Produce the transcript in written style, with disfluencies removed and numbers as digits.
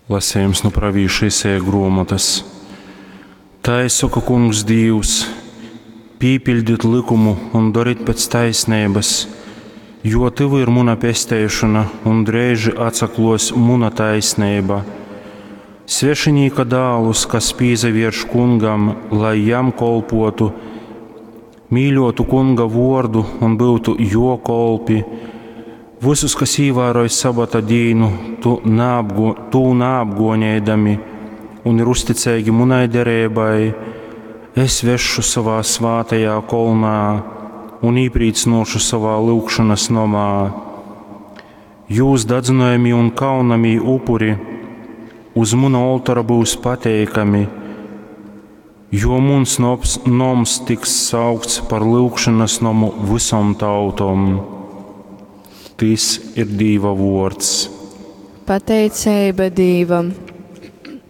Lasejums nu pravīša Isaja gruomotys. Tai soka Kungs Dīvs, Pīpiļdit lykumu un dorit pēc taisneibas, jo tyvu ir muna pesteišona un dreiži atsakluos muna taisneiba. Svešinīka dālus, kas pīsavierš Kungam, lai jam kolpuotu, mīļuotu Kunga vuordu un byutu juo kolpi, vysus, kas īvāroj sabata dīnu, tu naapgo, tū naapguoneidami un ir uzticeigi munai dereibai, es vesšu sovā svātajā kolnā un īprīcynuošu sovā lyugšonys nomā. Jūs dadzynojamī un kaunamī upuri uz muna oltora byus pateikami, jo muns noms, noms tiks saukts par lyugšonas nomu vysom tautom. Tys ir Dīva vuords. Pateiceiba Dīvam.